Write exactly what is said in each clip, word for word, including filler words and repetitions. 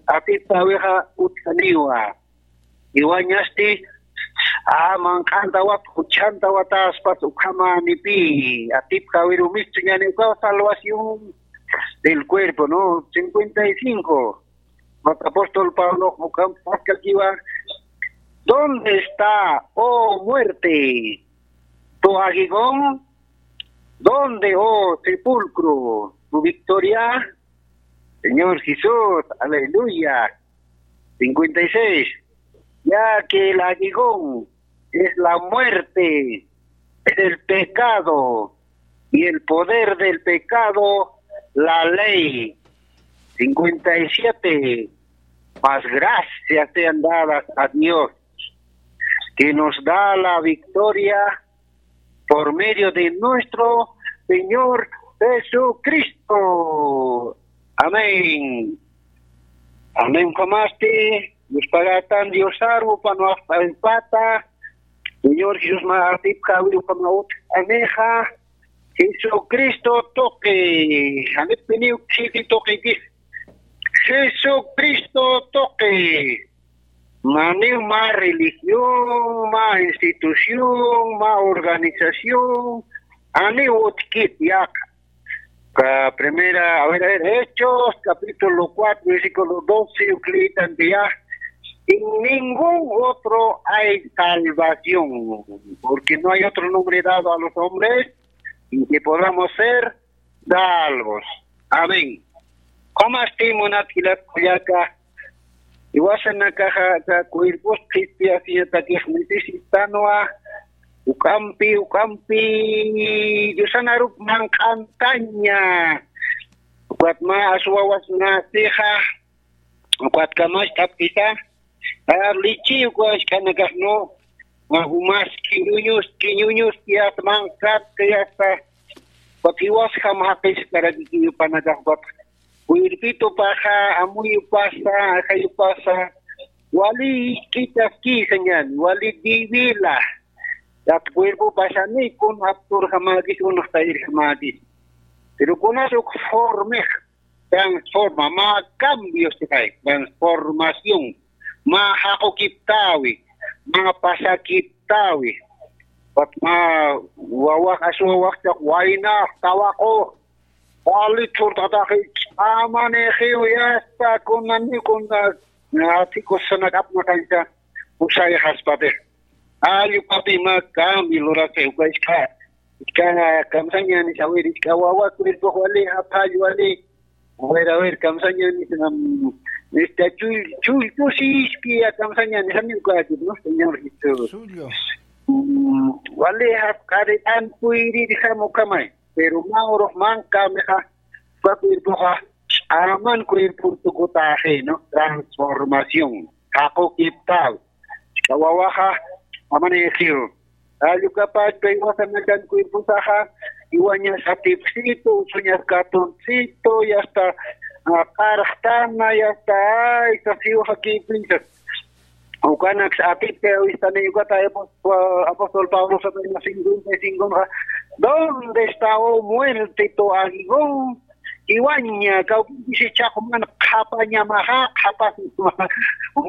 atipkawixa utjaniwa. Iwañasti, a, manq'antawat, juchantawata aspas ukhamanipi, atipkawirumistu ñani uka salvación del cuerpo, ¿no? Cincuenta y cinco. Apóstol Pablo, ukham, paskakiwa, ¿dónde está, oh muerte, tu aguijón? ¿Dónde, oh sepulcro, tu victoria? Señor Jesús, aleluya. Cincuenta y seis. Ya que el aguijón es la muerte, es el pecado, y el poder del pecado, la ley. Cincuenta y siete. Mas gracias sean dadas a Dios, que nos da la victoria por medio de nuestro Señor Jesucristo. Amén. Amén. Ukamasti, Dios pagatan, Dios arvo, pano pata. Señor Jesús ma atipkawi, ukama utjanixa. Jesucristo tuqi. Janipiniw khiti tuqi. Jesucristo tuqi. Maniw mä religión, mä institución, mä organización, aniw utjkit yaqha. Ca-, primera, a ver, a ver, Hechos, capítulo cuatro, versículo doce, ukhama lïtan tiya, en ningún otro hay salvación, porque no hay otro nombre dado a los hombres en que podamos ser salvos. Amén. Ukamasti munat jilat kullaka, jiwasanakaxa aka cuerpos qhispiyasañatakix necesitanwa, ukampi, ukampi, Diosanarup manq'antaña, ukat mä aswawasnasixa, ukat kamacht'apkisa, a, lichi uka askhanakax, ¿no? Umas kiñuñus, kiñuñus, yasta manq'at, yasta, ukat jiwasjam jaqis karakiki yupanakax, ukat cuerpitupaxa, amuyupasa, ajayupasa, wali isk'itaskisa ñan, wali divila. Tat cuerpopasani kun apturjamäkis, unxtayirjamäkis. Pero kunas uk formix, transforma, mä cambios, transformación, mä jaqukiptawi, mä pasakiptawi. Ukat mä wawax, aswawaxcha waynax, tawaqu, wali thurtataxi, ch'amanixiw, yasta, kunani, kuna, atikus sanak apnaqañcha, usayxaspatix. Allpapi mä cambio lurasix, uka isk'a, isk'a kamsañänis, a ver, isk'a wawa cuerpox wali, apall wali. A ver, a ver, kamsañänis, am, este, chull-, chullpusiski, ya kamsañänis, amigo, ¿no? Señor Jesús. Suyo. Mm, wali, hap, q'aritan, puyrirjam, ukamay. Pero mä urux manq'amixa, uka cuerpoxa, ch'aman cuerpor tukutaxi, ¿no? Transformación. Jaqukiptaw. Ch'awawaxa, ch'amanixiw. Allukapach, pay jiwasanakan cuerposaxa, jiwañas atipsitu, usuñas katunsita, yasta, a, qarxtana, yasta, ay, sasiw jakipinchas. Ukanaks atipkawistani, ukata apóstol, apóstol Pablo sapina cincuenta y cinco, ¿dónde está, oh muerte, tu aguijón? Jiwaña, kawkisi chaqman qhapañamaxa, qhapasma,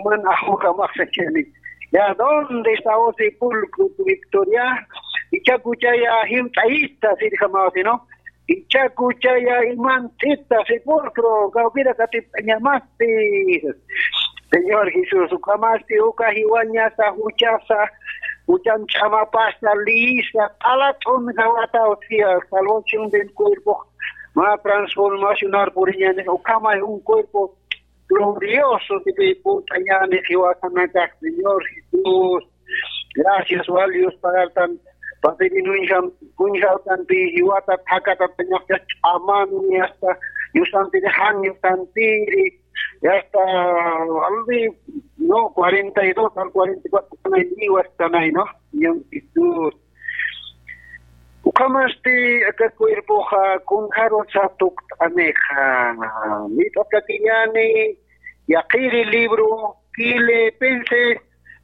man ajujamaxsachani. Ya, ¿dónde está, oh sepulcro, tu victoria? Ichakuchaya, jimt'ayista, sirjamawasi, ¿no? Ichakuchaya, imantita, sepulcro, kawkira katipt'añamasti. Señor Jesús, ukamasti, uka jiwañasa, juchasa, juchan ch'amapasa, liyisa, q'alat'un jawata, o sea, salvación del cuerpo, mä transformacionar puriñäni, ukamay un cuerpo glorioso, sipï purt'añäni, jiwasanakax, Señor Jesús. Gracias, wal Dios, pagartan, papirin uñjam, uñjawtanpi, jiwata, thakatatañaxcha, ch'amani, hasta, yusanpiri, jan yusanpiri, hasta, albi, no, cuarenta y dos al cuarenta y cuatro, ¿no? Señor Jesús. Ukhamasti aka cuerpoxa kunjarusa tukt'anixa. Mit'askakiñäni, yaqhiri libro Filipenses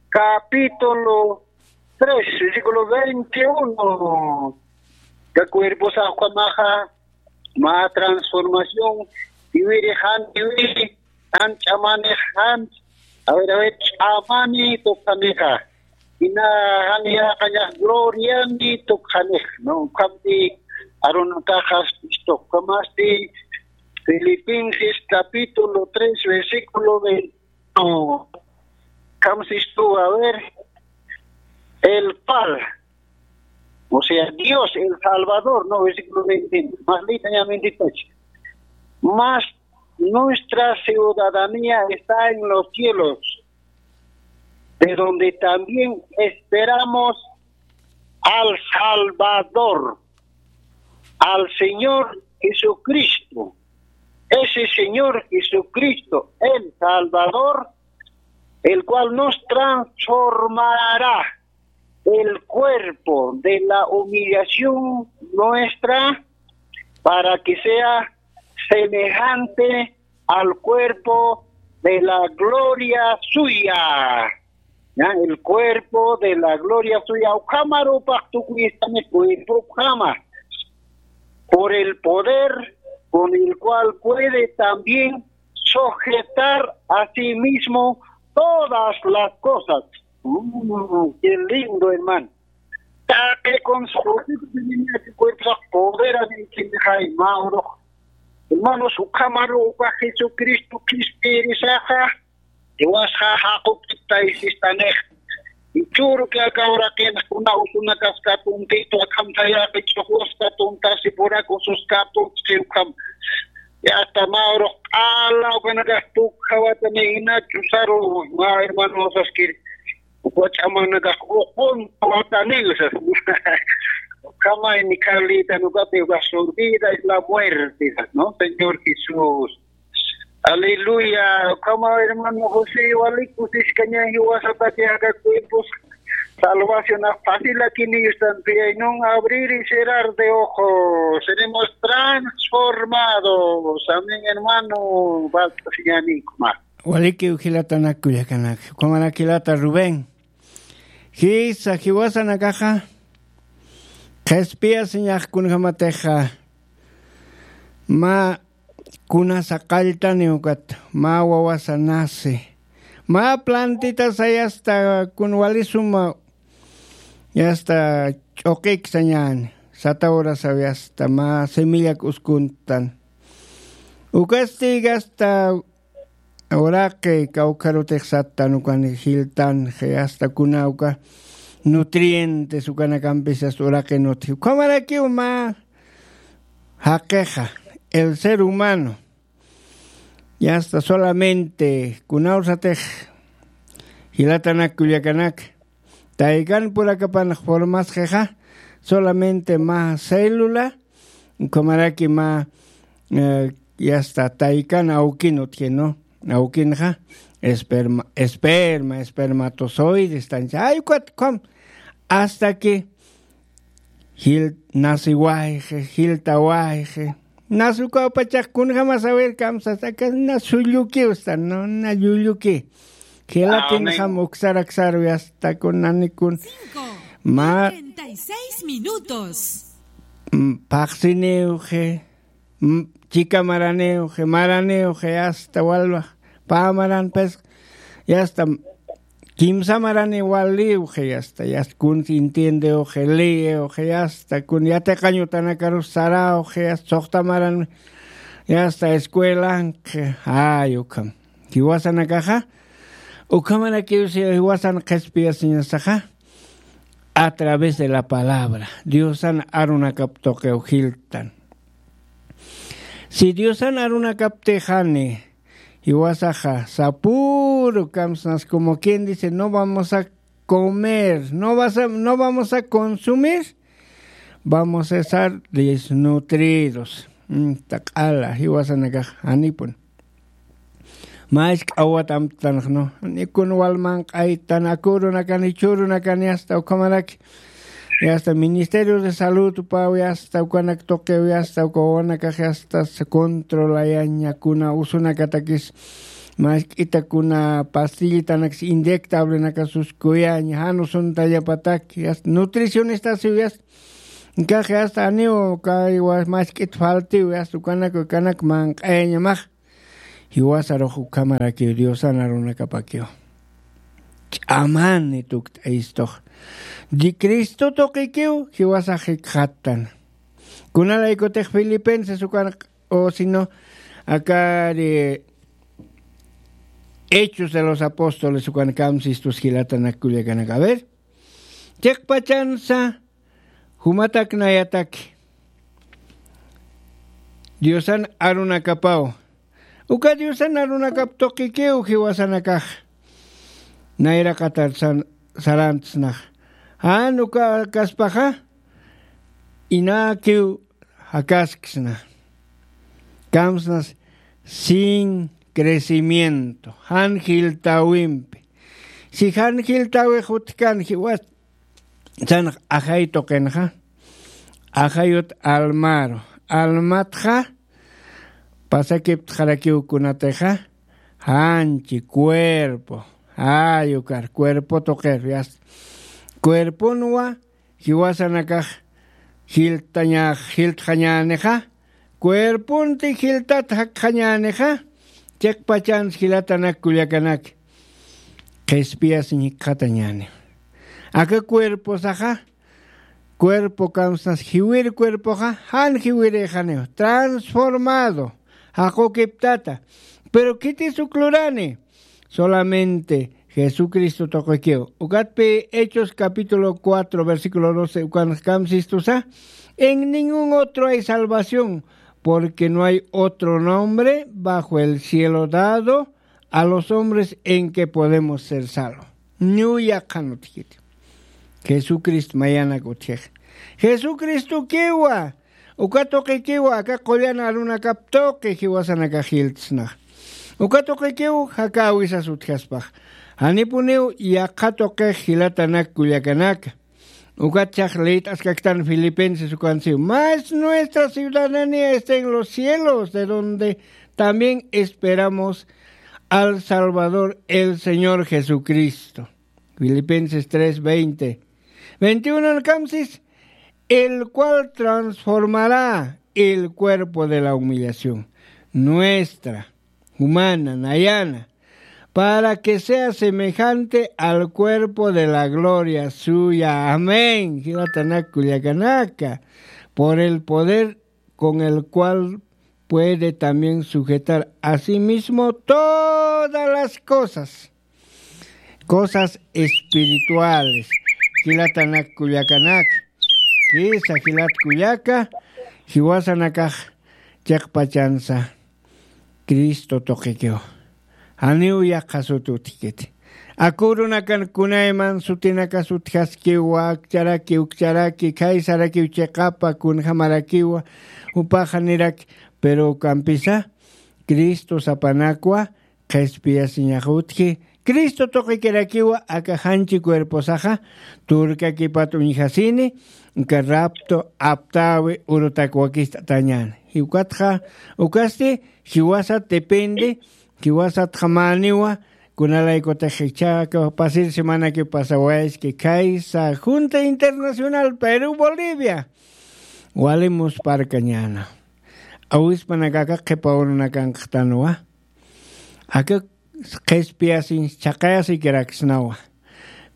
capítulo tres, versículo veintiuno. Aka cuerposa ukhamaxa mä transformación, iwiri jan iwiri, Jan ch'amanix, jan, a ver, a ver, ch'amani tukxanixa. Ina jan yaqañax gloriani tukxanix, ¿no? Ukhamti arunakaxas istuq, ukhamasti Filipenses capítulo tres, versículo veinte. Ukham sistu, a ver, el cual, o sea, Dios, el Salvador, ¿no? Versículo veinte, más leytaña veintiocho. Mas nuestra ciudadanía está en los cielos, de donde también esperamos al Salvador, al Señor Jesucristo. Ese Señor Jesucristo, el Salvador, el cual nos transformará el cuerpo de la humillación nuestra para que sea semejante al cuerpo de la gloria suya. ¿Ya? El cuerpo de la gloria suya. Ukhamarupax tukuyistani cuerpo ukhama. Por el poder con el cual puede también sujetar a sí mismo todas las cosas. Mm, qué lindo, hermano. Taqi consejo, cuerpo poder a mí, hermanos, ukhamaru uka Jesucristo qhispiyirisaxa, jiwasxa jaqukiptaysistanix. Churu que aka uraqinx kuna usunakas katuntitu, akham tayaqi ch'uqus katuntasi, purak usus katuntsi ukham. Yasta mä urux q'ala ukanakax tukjawatani jina chusaru, mä hermanosaskiri. Ukwa ch'amanakax uqunta watanil, sas. Ukhamay ni Carlita, nukati ukax su vida es la muerte, sas, ¿no? Señor Jesús. Aleluya. Ukhama, hermano José, wali kusiskaña jiwasataki aka cuerpos salvación fácil aquí ni están, nun abrir y cerrar de ojos. Seremos transformados. Amén, hermano. Basta, señor Nico. Walikiw jilatanak kullakanak. Ukhamaraki jilata Rubén. Jisa jiwasanakaxa qhispiyasiñax kunjamatixa mä kunasa qalltani ukat, mä wawasa nasi, mä plantitasa yasta kun wali suma yasta ch'uqiksañäni, sata urasaw yasta mä semillak uskuntan. Ukasti yasta uraqi kawkharutix sattan ukan jiltanxi, hasta kuna uka nutrientes ukanakampis hasta uraqi nutji. Ukhamarakiw mä jaqixa, el ser humano, yasta solamente kunawsatix jilatanak kullakanak, taykan purakapan formasqixa, solamente mä célula, ukhamaraki mä, eh, yasta taykan awkin utji, ¿no? Awkinxa esperma, esperma, espermatozoides tancha. Ay, ukat ukham, hasta que jil nasiwayxi, jiltawayxi. Nasukaw pachax kunjamas a ver kamsas, aka na sullukiw stan, ¿no? Na llulluki. Gelatinxam uksaraksarwi hasta kun nanikun. Cinco y treinta y seis minutos. Mm, phaxsiniwxi, mm, chika maraniwxi, maraniwxi, hasta walwa pä maran, pues, yasta kimsa marani waliwxi, yasta, yasta kun entiendewxi, leewxi, yasta kun yatiqañ utanakarus sarawxi, yasta suxta maran, yasta escuelanxi, ay, ukham. Jiwasanakaxa, ukhamarakiw si jiwasan qhispiyasiñasaxa, a través de la palabra, Diosan arunakap tuqiw jiltan. Si Diosan arunakaptixani, jiwasaxa sapüru kamsnas, como quien dice, no vamos a comer, no vas a, no vamos a consumir, vamos a estar desnutridos. Mm, taq'ala, jiwasanakax janipun. Mä jisk'a awat amtanx, ¿no? Nikun wal manq'aytan, akürunakan, jichhürunakan, yasta ukhamaraki. Yasta Ministerio de Salud upaw, yasta ukanak tuqiw, yasta uka wawanakax, yasta controlayaña, kuna usunakatakis, mä jisk'ita kuna pastillitanakis inyectablenakasus kuyaña, jan usuntallapatak, yasta nutricionistasiw, yasta. Nkax, yasta aniw, kay wa-, mä jisk'it faltiw, yasta ukanak, ukanak manq'ayañamax. Jiwasarux ukhamarakiw diosan arunakapakiw ch'amani tukt'ayistux. Di cristo tuqikiw jiwasax jikxattan. Kunalaykutix filipenses ukan o sino akari hechos de los apóstoles ukan kamsistus jilatanak kullakanak a ver. Chiqpachansa jumatak nayataki diosan arunakapaw. Uka diosan arunakap tuqikiw jiwasanakax nayraqatar sarantsnax. Jan uka kaspaxa inakiw jakasksna. Kamsnas sin crecimiento jan jiltäwimpi. Si jan jiltäwix utjkan jiwasanx ajay tuqinxa ajayut almaru almatxa pasakiptxarakiw kunatixa janchi cuerpo jay ukar cuerpo tuqir yasta cuerponwa jiwasanakax jilt'añax jiltxañänixa cuerponti jiltat jakxañänixa. Chiqpachans jilatanak kullakanak qhispiyasiñ jikxatañäniw. Aka cuerposaxa cuerpo kamsnas jiwir cuerpoxa jan jiwirïxaniw transformado jaqukiptata. Pero khitis uk lurani solamente jesucristo tuqikiw. Ukatpi hechos capítulo cuatro versículo doce ukanx kamsistusa en ningún otro hay salvación porque no hay otro nombre bajo el cielo dado a los hombres en que podemos ser salvos. Ñuya qhanutjiti jesucristo mayanak utjix jesucristokiwa. Uka tuqikiwa aka qullan arunakap tuqi jiwasanakax jiltsnax. Uka tuqikiw jakäwisas utjaspax janipuniw yaqha tuqix jilatanak kullakanaka. Ukatchax liyt'askaktan filipenses ukansiw mas nuestra ciudadanía está en los cielos de donde también esperamos al salvador el señor jesucristo. Filipenses tres veinte veintiuno kamsis el cual transformará el cuerpo de la humillación nuestra humana nayana para que sea semejante al cuerpo de la gloria suya amén jilatanak kullakanaka. Por el poder con el cual puede también sujetar a sí mismo todas las cosas cosas espirituales. Jilatanak kullakanak kisa jilat kullaka jiwasanakax chiqpachansa cristo tuqikiw. Janiw yaqha sut utjkiti akurunakan kunayman sutinakas utjaskiwa akcharaki ukcharaki khaysarakiw chiqapa kunjamarakiwa jupaxa niraki. Pero ukampisa cristo sapanakwa qhispiyasiñax utji cristo tuqikirakiwa aka janchi cuerposaxa turkakipat uñjasini uka rapto aptäwi urutakwakist'atañäni. Ukatxa ukasti jiwasat depende jiwasatxa mäniwa. Kunalaykutix ichhaka pasir semanaki pasawayaski khaysa junta internacional perú bolivia wali musparkañäna. Awispanakaka qhipa urunakanqtanwa aka qhispiyasiñ chhaqayasikirakisnawa.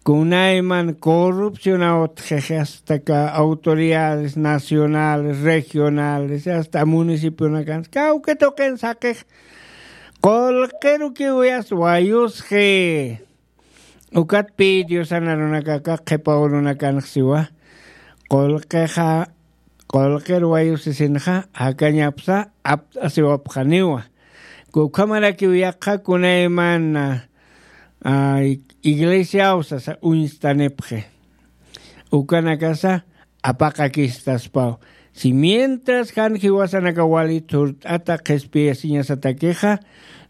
Kunayman corrupcionaw utjix astaka autoridades nacionales regionales asta municipionakan kawki tuqin saqix qullqirukiw yasta wayusxi. Ukatpi diosan arunakaka qhipa urunakanxsiwa qullqixa qullqir wayusisinxa jakañapsa apt'asiwapxaniwa. Ukhamarakiw yaqha kunaymana iglesiawsasa uñstanipxi ukanakasa apaqakistaspaw. Si mientras jan jiwasanaka wali thurt'ata qhispiyasiñasatakixa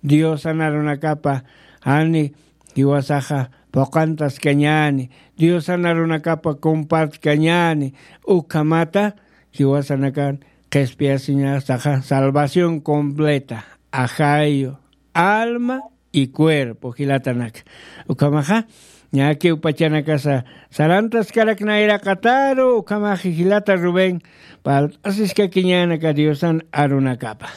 diosan arunakapa jani jiwasaxa phuqantaskañäni diosan arunakapa compartkañäni. Ukhamata jiwasanakan qhispiyasiñasaxa salvación completa ajayu alma y cuerpo jilatanaka. Ukhamaxa ñakiw pachanakasa sarantaskarak nayraqataru ukhamaxa jilata rubén parlt'asiskakiñänaka diosan arunakapa.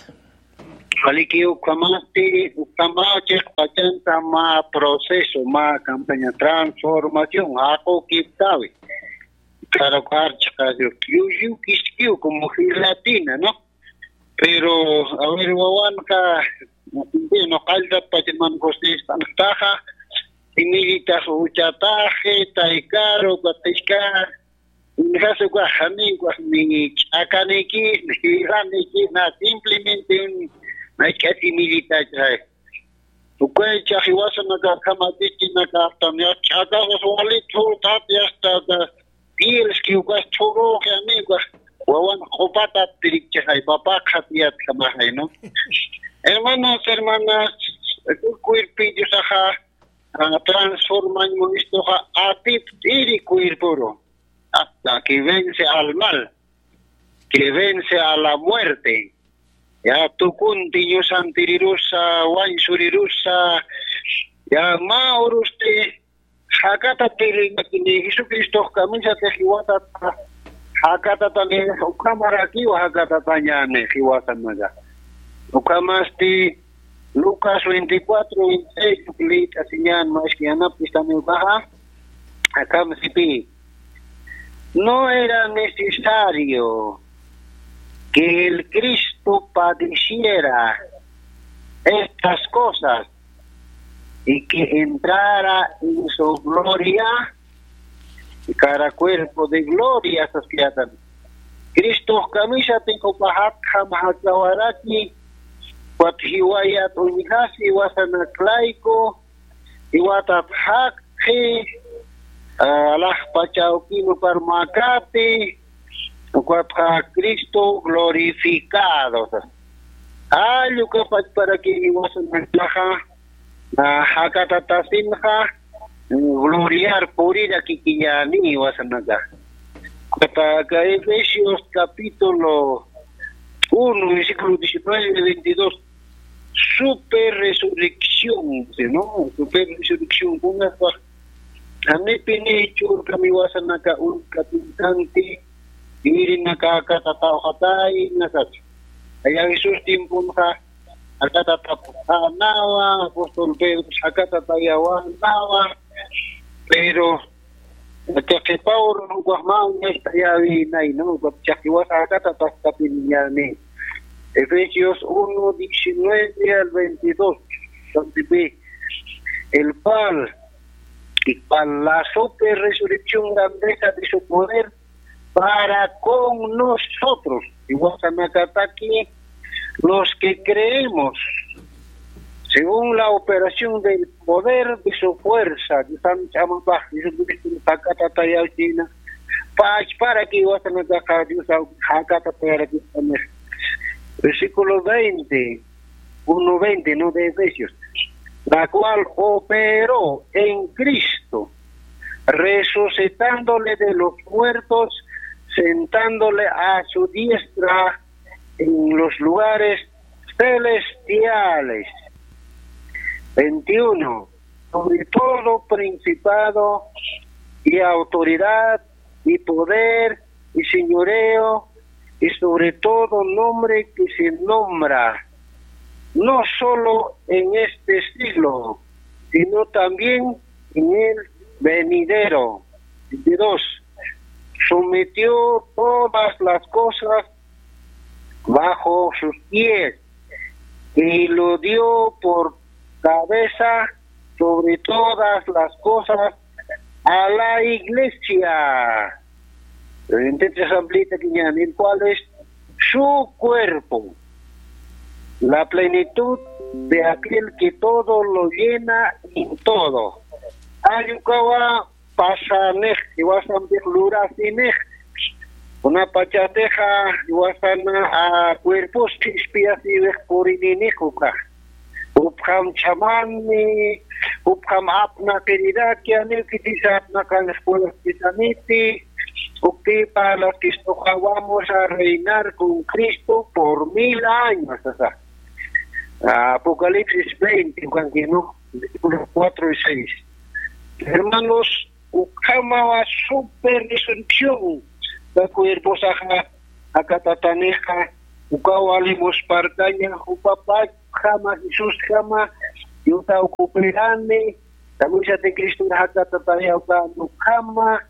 Waliki ukhamasti, ukhama chiqpachanta mä proceso, mä campaña transformación, jaqukiptawi. Claro, karchiqa, yuyu kiskiw como gelatina, ¿no? Pero, a ver, wawanqa, bueno, qalltat pachaman gustispantaqa, imillitas uchataje, taykaru, katishka, Injasuka, janiwa, ni ch'akaniki, ni jilaniki, na, simplemente un, na, ch'asimillitachaj. Ukaycha jiwasanaka, kamachikinaka, hasta ni ch'akasas walit, hurtat, hasta, hasta, pielski, ukas chhuruji, amigo, wawan q'upatat pirikchajay, papaqat yatkamajay, ¿no? Hermanos, hermanas, cuerpillos, ajá, ah, transformañ munistuqa, atipt'iri cuerporo. Hasta que vence al mal, que vence a la muerte. Ya, tukunti ñusantirirusa, wañsurirusa, ya, mä urusti, jakatatirinakini, Jesucristox kamisatix jiwasata, jakatatani, ukhamarakiw jakatatañani jiwasanaka. Ukhamasti, Lucas veinticuatro, veintiséis, liyt'asiñan, maski yanapt'istaniw baja, akham sipi. No era necesario que el Cristo padeciera estas cosas y que entrara en su gloria, cara cuerpo de gloria, saskatan. Cristo kamisatix jupajat jam jakawaraki, ukat jiwayat uñjasi jiwasanak layku, jiwatat jakxi, ah, alajpacha awkinu parmakati, ukatxa Cristo glorificado. Allukapachparaki jiwasanakaxa, ah, jakatatasinxa, gloriar purirakikiñäni jiwasanaka. Ukataka Efesios capítulo uno, versículo diecinueve y veintidós. Super resurrección, ¿sí, no? Super resurrección, kunaspa. Janipini churkami jiwasanaka uñkapintanti, irinaka jakatataw jatay, nasachi. Aya Jesús tiemponxa, jakatataw janawa, apóstol Pedro, jakatatayawa, nawa, pero, Qhipaw urunukax mä uñacht'ayäwinay, ¿no? Ukat chiqas jiwasa jakatataskapiniñäni. Efesios uno, diecinueve al veintidós, donde ve el cual, y cual la super resurrección grandeza de su poder para con nosotros. Jiwasanakataki los que creemos, según la operación del poder de su fuerza, que están llamados Jesucristo, pakatatayachina, pachpara que iwasanakaqa Dios jakatatayarakistanex. Versículo veinte, uno veinte, ¿no? De Efesios, la cual operó en Cristo, resucitándole de los muertos, sentándole a su diestra en los lugares celestiales. Veintiuno, sobre todo principado y autoridad y poder y señoreo y sobre todo nombre que se nombra, no solo en este siglo, sino también en el venidero. Veintidós, sometió todas las cosas bajo sus pies y lo dio por cabeza sobre todas las cosas a la iglesia. Entonces, amplita que ñan, el cual es su cuerpo, la plenitud de aquel que todo lo llena en todo. Ayukawa pasanix, jiwasanpix lurasinix, kunapachatixa jiwasana, a, cuerpos qhispiyasiwix purininix ukax. Jupxam chhamani, jupxam apnaqiriraki, aniw khitisa apnaqanix puliqkisaniti, uktipa laskistuqa vamos a reinar con Cristo por mil años, sasa. Apocalipsis veinte, ukanki, ¿no? Versículos cuatro y seis. Hermanos, ukhamawa super resurrección, la cuerposaxa, akatatanixa, Uka wali musparkaña, jupapachjama, Jesusjama, yuta ukupirani, kamisati Cristo jakata tayawkan ukhama.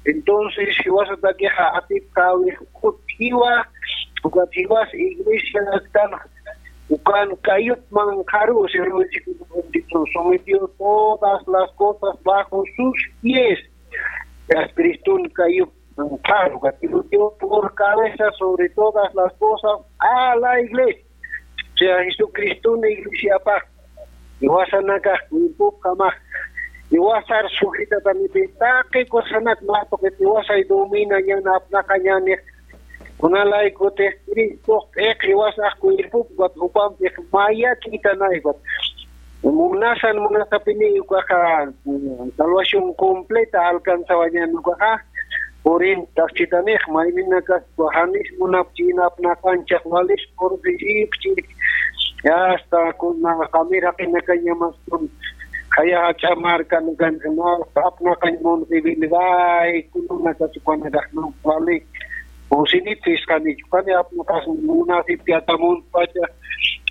Entonces, jiwasatakixa atipxäwi, ukat jiwa, ukat jiwas iglesia kan, ukan kayupman qharu, según versículo veintitrés, sometió todas las cosas bajo sus pies. Jas Criston kayupman qharu, ukat por cabeza sobre todas las cosas a la iglesia. O sea, Jesucristun iglesiapax, jiwasanakax cuerpopjamax, jiwasar sujetatanipï, taqi cosanak mä tuqit jiwasay dominañän, apnaqañänix, kunalaykutix Cristox p'iq jiwasax cuerpop, ukat jupampix mayakïtanay, ukat munasan munasapini ukaxa, mm, salvación completa alcanzawañän ukaxa, purintax chitanix, mayninakas uka janis munapchi, apnaqañchax walis purp'isipchi, hasta kuna qamir jaqinakañamas kun, jaya jach'a markanakan, apnaqañ munq'ipini, ay, kununakas ukanakax, no, wali, pusinipis qanich, ukani apnaqas munasipki aka muntpacha,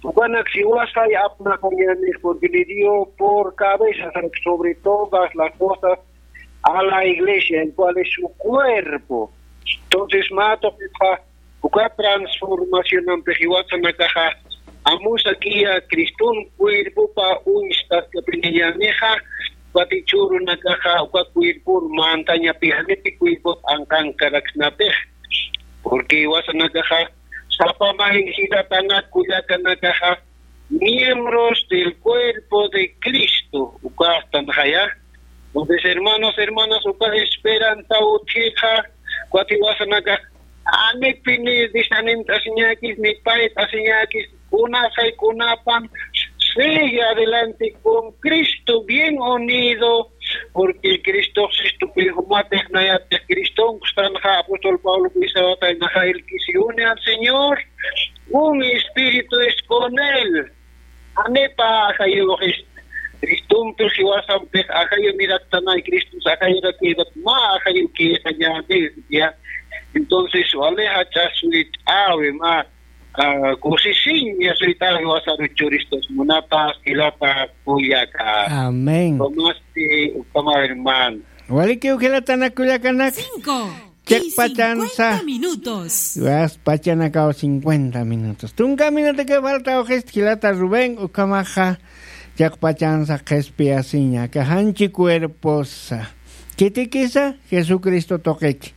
ukanak jiwasay apnaqañänix, porque le dio por cabeza sobre todas las cosas a la iglesia, el cual es su cuerpo. Entonces, mä tuqitxa, uka transformacionampi jiwasanakaxa, amusakiya Criston cuerpopa uñstaskapiniñänixa, ukat jichhürunakaxa, uka cuerpor mantañapi, janiti cuerpot anqankaraknapix. Porque jiwasanakaxa, sapa mä jilatanak kullakanakaxa, miembros del cuerpo de Cristo, uka astan jaya. Entonces, hermanos, hermanas, uka esperanza utjixa, ukat jiwasanakax, janipini desanimt'asiñäkis, ni payt'asiñäkis, kunasay kunapan, sigue adelante con Cristo, bien unido, porque Cristox sistupin jumatix nayatix Cristonkustanxa, apóstol Pablo kuysawataynaxa, el que se une al Señor, un espíritu es con él. Janipa ajayuxist, Cristompix jiwasampix ajayuniraktanay, Cristos ajayurakïpat mä ajayukïxañäni, ya. Entonces, wali jach'a suyt'äwi, mä, ah, kusisiña suyt'äwi jiwasaru churistas munatas, jilata kullaka. Amén. Ukamasti, ukhama hermano. Walikiw jilatanak kullakanak. Cinco. Chiqpachansa. Y cincuenta minutos. Chiqpachanakaw cincuenta minutos. Tunka minuto que falta, ojist jilata Rubén, ukhamaxa chiqpachansa qhispiyasiña, aka janchi cuerposa. Khitikisa, Jesucristo tuqiki.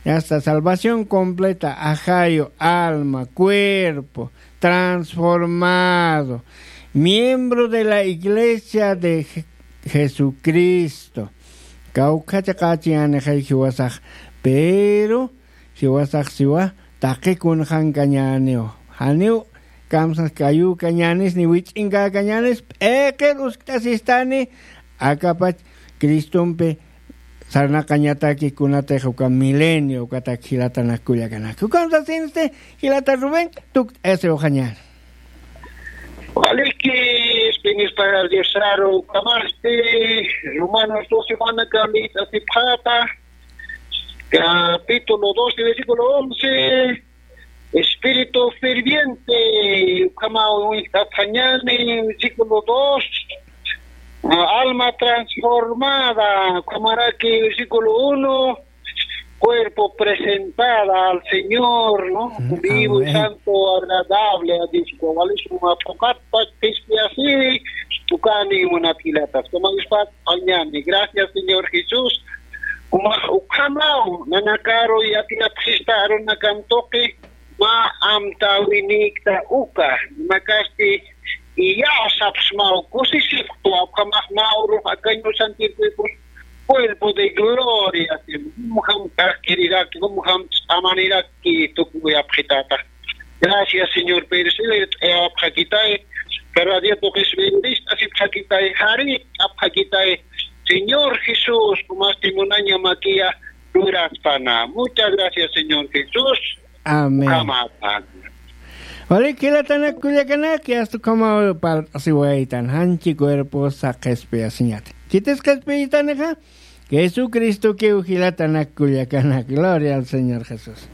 Hasta salvación completa, ajayu, alma, cuerpo, transformado, miembro de la iglesia de Je-, Jesucristo. Kawkhacha qachiyani jay jiwasax, pero jiwasax siwa taqi kunxankañaniw. Janiw kamsas kayukañanis ni wich'inkañanis, p'iqir uskt'asistani, akapach Cristompi sarnaqañataki kunatix uka milenio, ukatak jilatanak kullakanaka. Ukamsasinsti, jilata Rubén, tukt'asiwxañäni. Waliki, espinispar Diosaru, ukamasti, Romanos doce, mana kami, tasipxata, capítulo doce, versículo once, espíritu ferviente, ukhama uñt'atxañäni, versículo dos, ah, alma transformada, ukhamaraki, versículo uno, cuerpo presentada al Señor, ¿no? Ujú, vivo y amén. Santo, agradable a Dios. Walisuma phuqatpa qhispiyasiri, ukani munat jilatas. Como Diospa, mañana. Gracias, Señor Jesús. Uma, ukhamaw, nanakaru, yatiyapxista, arunakan tuqi, mä amtäwinikta uka, makasti, iyawsapxsmaw, kusisipxtu, ukhamax mä urux akañu santirpipus, cuerpo de gloria, jumjam k'axk'iriraki, jumjam ch'amaniraki tukuyapxitata. Gracias, Señor, pero si le, eh, apxakitay, cada día tuqis bendista, si apxakitay, jari, apxakitay, Señor Jesús, kumasti munaña makiya, luraspana. Muchas gracias, Señor Jesús. Amén. Ukhamata. Walik jilatanak kullakanak, yasta ukhamaw parlt'asiwaytan, janchi cuerposa qhispiyasiñata. Khitis qhispiyitanixa, Jesucristokiw jilatanak kullakanak. Gloria al Señor Jesús.